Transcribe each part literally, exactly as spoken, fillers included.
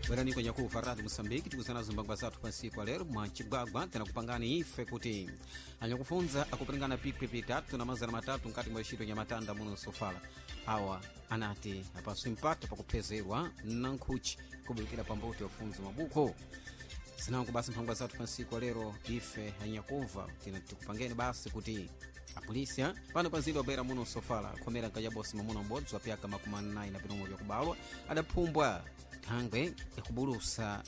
Bwerani kwenye kuva Radio Moçambique tikuzana zimbangwa zathu pansiku lero mwacigwagwa tinakupangani ife kuti anyakufunza akupringana pikwi pitatu na mazana matatu nkati mwa ixito nyamatanda muno sofala awa anati apaso mpata pakuphezerwa na nkhuchi kubulukira pambuto yofunza mabuku zinango basi mphangwa zathu pansiku lero ife anyakuva tikupangeni basi kuti apolisi pano pa mzinda wabera muno sofala khomera nkajabosi mamuna m'bodzi wa pyaka makumi anayi na pinomwe vyakubalwa adaphumbwa thangwe yakubulusa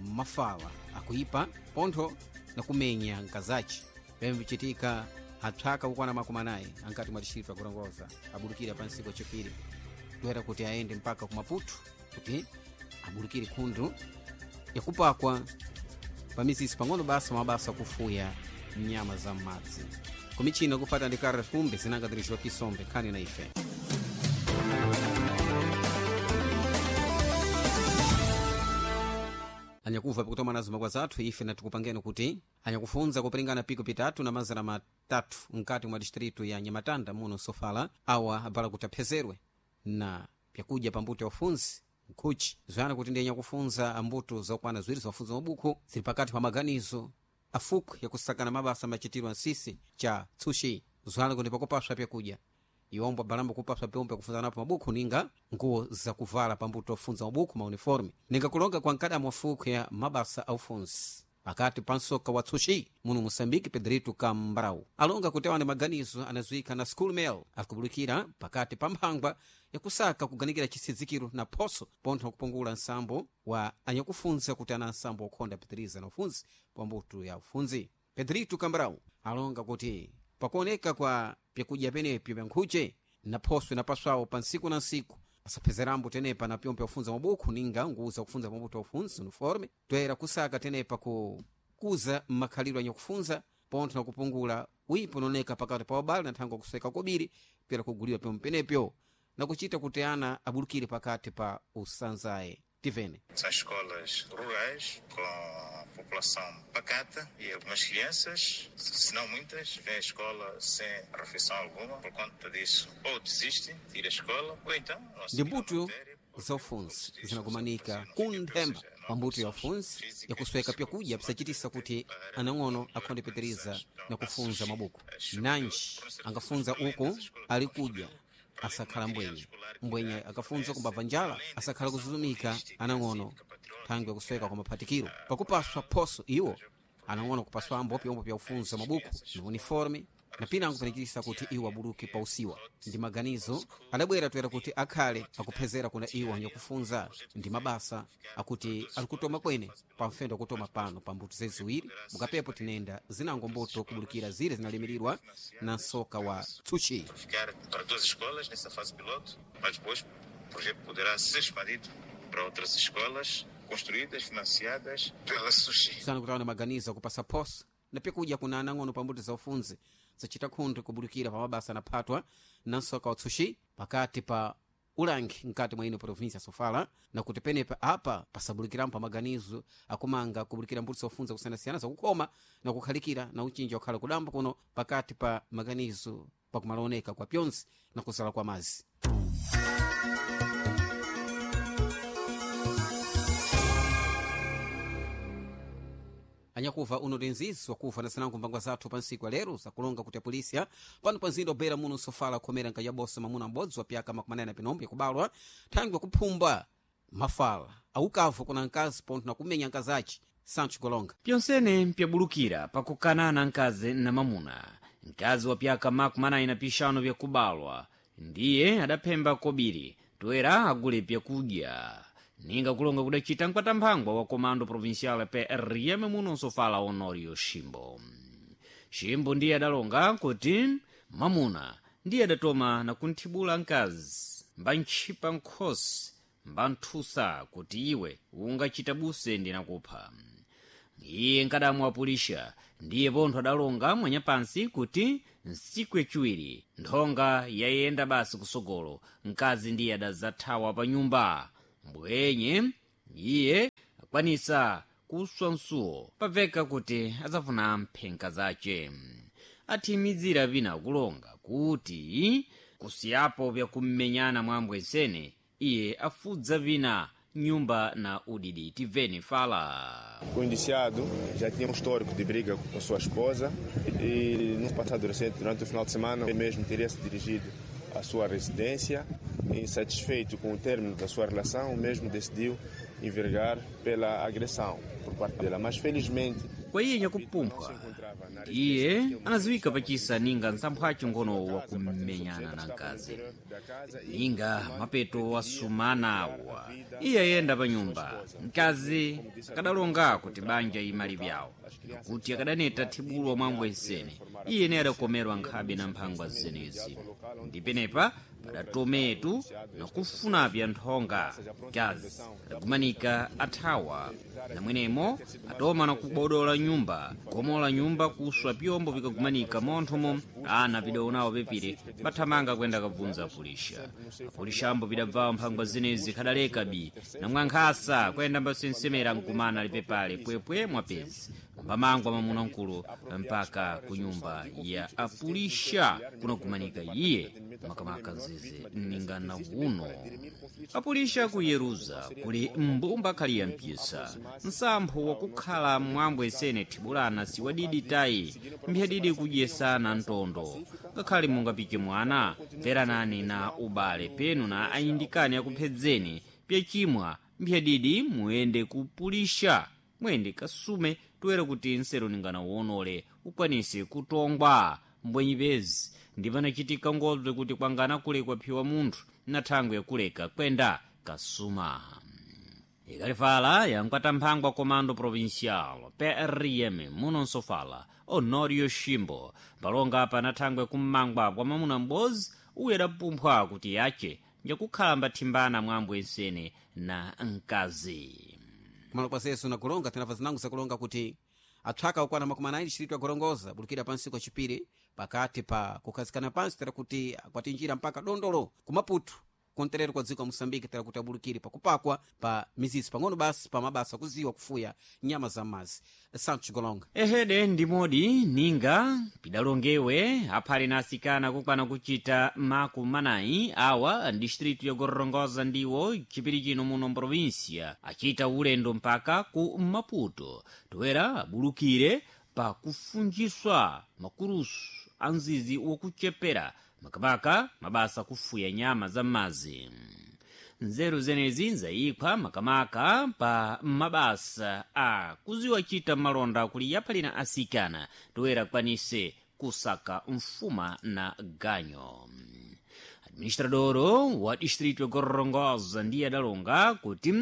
mafala akuipa pontho na kumenya nkazaci pemwe bicitika apsaka kukwana makumi anayi ankati mwa dixirito akurongoza abulukira pa nsiku yacipiri toera kuti aende mpaka ku Maputo kuti abulukire khundu yakupakwa pamizisi pang'ono basa mabasa akufuya nyama za m'madzi kumichina kupata ndi Carlos Kumbe zinanga dirigiwa kisombe khani na ife anyakuva pakutoma nazo makwa zathu ife natikupangeni kuti anyakufunza kupiringana piko pitatu na mazana matatu mkati mwa distritu ya nyamatanda muno sofala awa abala kuti aphezerwe na pyakudya pambuto ya ufunzi nkhuchi zoyana kuti ndi anyakufunza ambuto zokwana ziwiri zofunza mabuku zili pakati pa maganizo afukwe yakusakana mabasa machitiro ansisi cha tsushi zoyana kuti pakupaswa pyakudya iwombo abalambo kupaswa pyomwe kufunza napo mabuku ninga nguwo zakuvala pambuto ofunza mabuku mauniforme ninga kulonga kwa nkadamu afukwe ya mabasa aufunzi pakati pa msoka wa tsushi muno moçambique Pedrito Cambrau alonga kuti awa ni maganizo anazuika na school mail akubulukira pakati pa mphangwa yakusaka kuganikira chisidzikiro na phoso pontho kupungula nsambo wa anyakufunza kuti ana nsambo okhonda pitiriza na ufunzi pambuto ya ufunzi. Pedrito Cambrau alonga kuti pakuoneka kwa pyakudya penepyo pya nkhuche na phoso inapaswawo pa nsiku na nsiku asaphezerambo tenepa na pyompe ufunza mabuku ninga nguza kufunza pambuto ufunzi uniforme toera kusaka tenepa ku kuza makhalidwe anyakufunza pontho na kupungula wipo unaoneka pakati pa wabale na thangwe kuseka kobiri pera kuguliwa pyomwe penepyo na kuchita kuti ana abulukire pakati pa usanzaye tivene. São escolas rurais com população pacata e algumas crianças, se não muitas, vêm à escola sem refeição alguma. Por conta disso, ou desistem de ir à escola, ou então não Ndi mbuto za ufunzi zinakumanika kunthemba pambuto ya ufunzi yakusweka pyakudya pisachitisa kuti anang'ono akhonde pitiriza na kufunza mabuku nanji angafunza uku ali kudya asakhala mbwenye mbwenye akafunza kumbabva njala asakhala kuzuzumika anang'ono thangwe kusweka kwa maphatikiro pakupaswa phoso iwo anang'ono kupaswambo pyombo pya ufunza mabuku na uniforme na pinango panachitisa kuti iwo abuluke pa usiwa ndi maganizo adabwera toera kuti akhale akuphezera kuna iwo anyakufunza ndi mabasa akuti alikutoma kwene pamfendo akutoma pano pa mbuto zeziwiri mukapepo tinenda zinango mbuto kubulukira zire zinalimirirwa na nsoka wa tsuchi. Ficar para duas escolas nessa fase piloto, mas depois o projeto poderá ser expandido para outras escolas construídas, financiadas pela Sushi. Sana kutaona maganizo akupasa phoso na pyakudya kuna anang'ono pambuto za ufunzi zacita khunthu kubulukira pa mabasa anaphatwa na nsoka wa tsushi pakati pa ulangi mkati mwa ino provinsia sofala na kuti penepa apa pasabulukirambo pa maganizo akumanga kubulukira mbuto zofunza kusiyanasiyana zakukhoma na kukhalikira na uchinja wakhala kudambo kuno pakati pa maganizo pakumalaoneka kwa pyonse na kuzala kwa mazi. Anyakuva uno tinzizi wakuva na zinango mbangwa zathu pa nsiku ya lero zakulonga kuti apolisi pano pa mzinda obera muno sofala akhomera nkajabosa mamuna m'bodzi wa pyaka makumi anayi na pinombo yakubalwa thangwe kuphumba mafala aukavu kuna nkazi pontho na kumenya nkazaci Sancho Golonga. Pyonsene mpyabulukira pakukanana nkazi na mamuna. Nkazi wa pyaka makumi anayi na pixanu pyakubalwa ndiye adaphemba kobiri toera agule pyakudya ninga kulonga kudacita mkwatamphangwa wa comando provincial P R M muno nsofala Honorio Ximbo. Ximbo ndiye adalonga kuti mamuna ndiye adatoma na kunthibula nkazi mbantchipa nkhosi mbanthusa kuti iwe ungachita buse ndinakupha. Iye nkadamu apulisha ndiye pontho adalonga mwanyapansi kuti nsiku yaciwiri nthonga yayenda basi kusogolo mkazi ndiye adazathawa pa nyumba mbwenye iye akwanisa kuswa msuwo pabveka kuti adzafuna mphenka zace. Athimizira pina kulonga kuti kusiyapo pyakummenyana mwa ambwesene iye afudza pina Nyumba na udidi tiveni fala. O indiciado já tinha um histórico de briga com sua esposa e no passado recente, durante o final de semana, ele mesmo teria se dirigido à sua residência. Insatisfeito com o término da sua relação, o mesmo decidiu envergar pela agressão por parte dela. Mas felizmente Kwa iye nyakupumpha iye anaziwika pachisa ninga nsamphaci ngono wakumenyana na mkazi ninga mapeto wasumana awa iye ayenda pa nyumba mkazi akadalonga kuti banja imali vyawo kuti akadaneta thibulwa mwambo ensene iye ne adakomerwa nkhabe na mphangwa zenezi ndi penepa padatometu nakufunapya nthonga mkazi adakumanika athawa namwenemo atoma nakubodola nyumba gomola nyumba kuswa pyombo pikagumanika monthomo ana pidaonawo pepire bathamanga kuyenda kabvunza apulisha apulisha ambo pidabvawo mphangwa zenezi khadaleka bi namwankhasa kuyenda mbasensemera nkumana lipepale pwepwe mwapezi mbamangwa mamuna mkulu mpaka ku nyumba ya apulisha kunakumanika iye makamaka nzizi ningana uno apulisha ku yeruza kuli mbumba khali ya mpyisa nsampho wakukhala mwambo esene thibulana siwadidi tayi mphyadidi kudyesana ntondo ngakhale mungapike mwana mveranani na ubale penu na ayindikani akuphedzeni pyachimwa mphyadidi muyende kupulisha mwende kasume toera kuti nsero ningana wonole ukwanise kutongwa mbwenyipezi ndi panachitika ngobze kuti kwangana kulekwa phiwa munthu na thangwe yakuleka kwenda kasuma ikalifala yankwata mphangwa comando provincial P R M muno nsofala Honorio Shimbo palonga apa na thangwe kummangwa kwa mamuna m'bodzi uyo adapumphwa kuti yache njakukhala mbathimbana mwambo ensene na mkazi. Kumalo kwa zesu na kulonga tinamva zinango zakulonga kuti apsaka okwana makumi anayi distritu ya Gorongosa bulukira pansi kwa chipiri pakati pa kukhazikana pansi tera kuti akwatinjira mpaka dondolo kumaputu konterero kwa dziko la Moçambique tera kuti abulukire pakupakwa pa mizizi pang'ono basi pa mabasa kuziwa kufuya nyama za mazi. Santos Golonga. Ehede ndimodi ninga pidalongewe aphale na asikana kukwana kuchita makumanayi awa distritu ya Gorongosa ndiwo chipiri chino muno mprovinsia achita ulendo mpaka ku Maputo toera abulukire pa kufunjiswa makurusu a mzizi wokuchepera makamaka mabasa kufuya nyama za m'madzi. Nzeru zenezi nzayiphwa makamaka pa mabasa a kuziwa chita malonda kuli yaphalina asikana toera kwanise kusaka mfuma na ganyo. Administradoro wa distritu ya Gorongosa ndiye adalonga kuti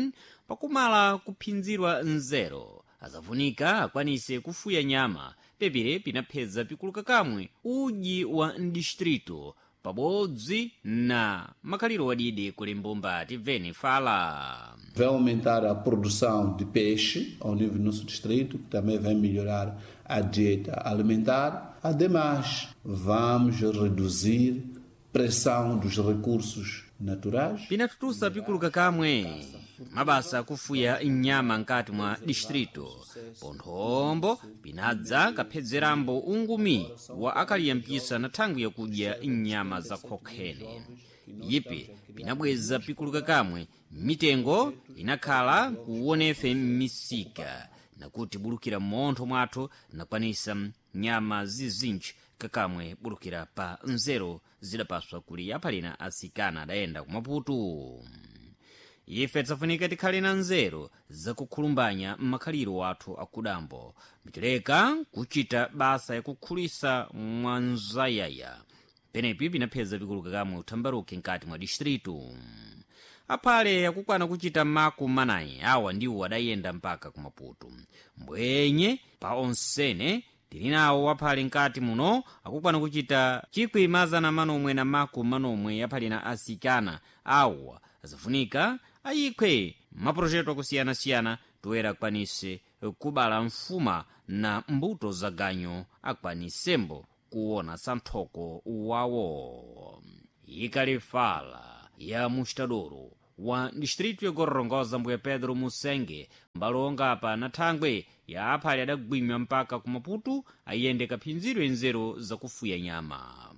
pakumala kuphinzirwa nzeru azavunika akwanise kufuya nyama pepire pinaphedza pikuluka kamwe uji wa mdistritu pabodzi na makhaliro wadidi kuli mbumba tibveni fala. Vai aumentar a produção de peixe ao nível do nosso distrito, que também vai melhorar a dieta alimentar. Ademais, vamos reduzir pressão dos recursos naturais. Pinatutusa pikuluka kamwe mabasa akufuya nyama nkati mwa distritu ponthombo pinadza kaphedzerambo ungumi wa akaliyambisa na thangwi yakudya nyama za khokhene yipi pinabweza pikuluka kamwe mitengo inakhala kuwonefe m'misika nakuti bulukira m'montho mwathu nakwanisa nyama zizinji kakamwe bulukira pa nzeru zidapaswa kuli aphalina asikana adayenda kumaputu. Ife tisafunika tikhale na nzeru zakukhulumbanya m'makhaliro athu akudambo mbitileka kuchita basa yakukhulisa mwanzayaya penepi pinapheza pikuluka kamwe uthambaruke nkati mwa distritu. Aphale akukwana kuchita maku manayi awa ndiwo adayenda mpaka kumaputu mbwenye pa onsene tili nawo aphale nkati muno akukwana kuchita chikwi mazana manomwe na maku manomwe aphale na asikana awa azafunika ayikhwe maprojeto akusiyana-siyana toera akwanise kubala mfuma na mbuto za ganyo akwanisembo kuona santhoko wawo. Ikalifala ya mustadoro wa distritu ya Gorongosa mbuya Pedro Musenge mbalonga apa na thangwe ya aphale adagwinywa mpaka kumaputu ayende kaphinzidwe nzeru zakufuya nyama.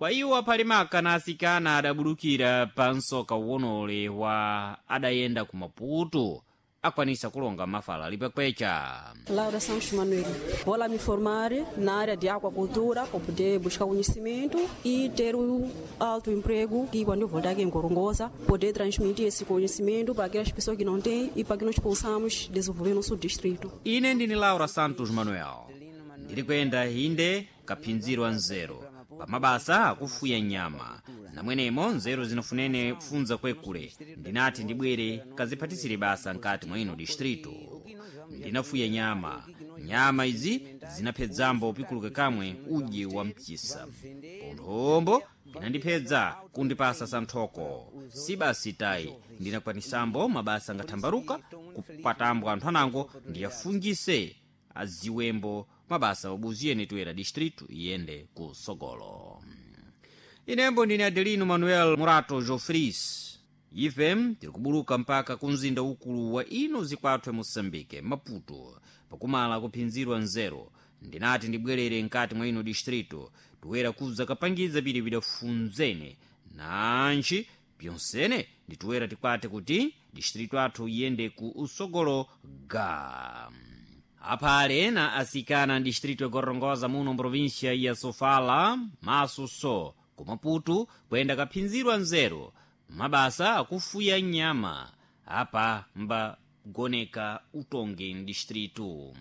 Kwa iwo aphalimaka na asikana adabulukira pa msoka uwonole wa adayenda ku Maputo akwanisa kulonga mafala lipekwecha. Laura Santos Manuel. Vou lá me formar na área de aquacultura para poder buscar conhecimento e ter o alto emprego e quando eu voltar aqui em Gorongosa, poder transmitir esse conhecimento para aquelas pessoas que não têm e para que nós possamos desenvolver nosso distrito. Ine ndini Laura Santos Manuel, ndiri kuyenda inde kaphinzirwa nzeru pamabasa akufuya nyama namwenemo nzeru zinofunene kufunza kwekule. Ndinati ndibwere kaziphatisire basa nkati mwa ino distrito. Ndinafuya nyama, nyama izi zinaphedzambo pikuluke kamwe udye wa mchisa ponthombo pinandiphedza kundipasa santhoko. Si basi tayi, ndinakwanisambo mabasa ngathambaruka kupatambwa anthu anango ndiyafungise aziwembo mabasa obuziyeni tuyera distrito iyende ku sogolo. Inembo ndine Adelino Manuel Murato Jofris. Ife tiri kubuluka mpaka ku mzinda ukulu wa ino zikwathu Moçambique, Maputo, pakumala kuphinzirwa nzeru. Ndinati ndibwerere nkati mwa ino distrito toera kuza kapangiza pili pidafunzene nanji pyonsene nditoera tikwate kuti distrito athu iyende ku usogolo ga aphale na asikana distrito ya Gorongosa muno mprovinsia ya Sofala maso so ku Maputo kuyenda kaphinzirwa nzeru mabasa akufuya nyama apa mbagoneka utongi mdistrito.